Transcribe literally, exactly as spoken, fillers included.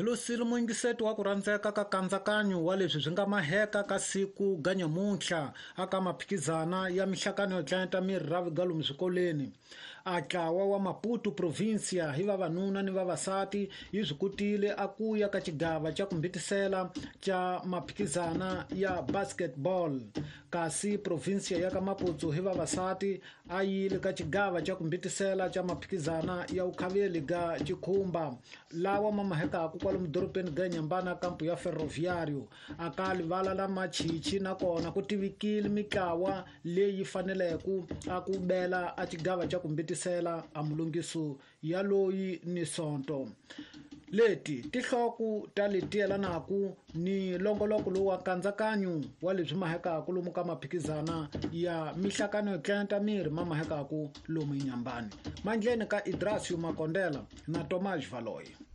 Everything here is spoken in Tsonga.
Hi losile muyingiseti wa ku rhandzeka ka nkatsakanyo wa leswi swi nga maheka ka siku ga nyamuntlha aka maphikizana ya mihlakano yo tlanyeta miri ra vigalomu swikolweni. A ntlawa wa Maputo provincia hi vavanuna ni vavasati yi swi kotile a ku ya ka xigava xa ku mbitisela xa maphikizana ya basketball, kasi provincia ya ka Maputo hi vavasati a yile ka xigava xa ku mbitisela xa maphikizana ya vukhaveli ga xikhumba lawa ma mahekaku kwalomu dorobeni ga Nyambana kampu ya Ferroviario. A ka livala la Machichi nakona ku tivikile mitlawa leyi faneleke a ku bela a xigava xa ku mbitisela a mulungiso ya loyi ni sonto. Leti tinhloko ta leti yelanaka ni longoloko lowu wa nkatsakanyo wa leswi mahekaku lomu ka maphikizana ya mihlakano yo tlanyeta miri ma mahekaku lomu eNyambani. Mandleni ka Idrasio Makondela na Tomás Valoyi.